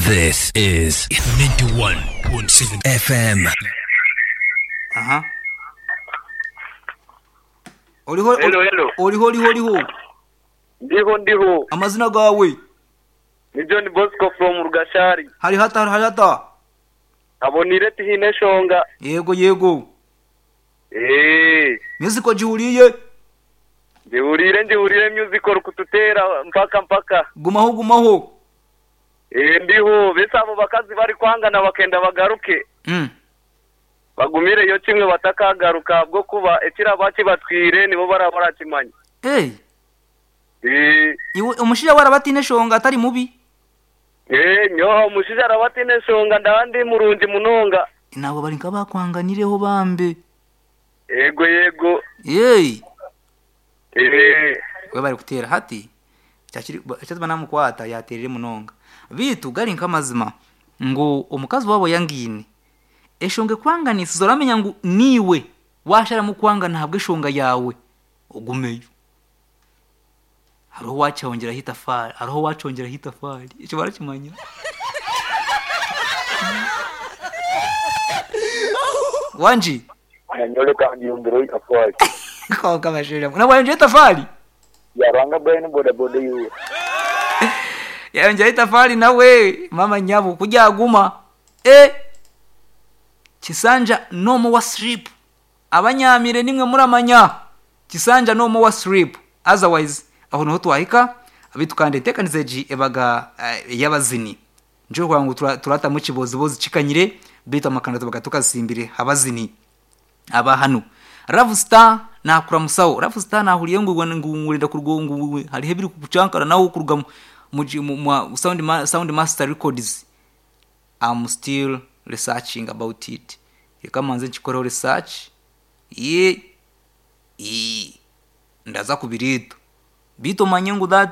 This is 91.7 FM. Aha. Oriho Hello, hello. oriho oriho oriho. Ndiho ndiho. Amazina gaawe. Ni John Bosco from Rugashari. Hari hata hari hata. Abonire tihaine enshonga. Yego yego. Eeh. Music ogihuriire? Ngihuriire ngihuriire music orikututeera mpaka mpaka. Gumaho gumaho. Eeh ndiho. Beitu abo bakazi barikwangana bakenda bagaruke. Bagumireyo kimwe batakagaruka ahabw'okuba ekiraba kibatwire nibo baraba barakimanya. Eeh. Eeh. Iwe omushaija we araba ataine enshonga atari mubi? Eeh nyowe omushaija araba ataine enshonga ndaba ndi murungi munonga. Naabo bari nk'abakwanganireho bambe. Yego yego. Yeei. Eeh. We bari kuteera hati ekyatuma namukwata yateerire munonga. Beitu gari nk'amazima ngu omukazi waaba oyangaine, eshonga ekwanganisize oramanya ngu niiwe waasharamu kwangana ahabw'eshonga yaawe, ogumeyo. Hariho owaakyongyeraho eitafaari, hariho owaakyongyeraho eitafaari, ekyo barakimanya? Wangi? Nyowe reka ngyongyere eitafaari. Kwonka bashaija mwe, nawe wayongyera eitafaari? Ya Ruhanga Brian bodaboda iwe. Yayongyera eitafaari nawe, maama nyabo ku ryaguma, eh! Kisanja no more sleep. Abanyaamire nimwe muramanya. Kisanja no more sleep. Otherwise aho niho twahika beitu kandi enteekaniza egi ebaga ey'abazini. Nikyo orikureeba ngu turatamu ekibozibozi kikanyire beitu amakanda tubaga tukazitsimbire abazini aba hanu. Love Star naakuramusaho. Love Star naahuriire ngu ngu orenda kuruga ngu hariho ebirikukucankaranaho kuruga omu Sound Master Records. Am still researching about it. Reka mbanze nkikoreho research. Yee, ndaza kubireeta. Beitu omanye ngu that.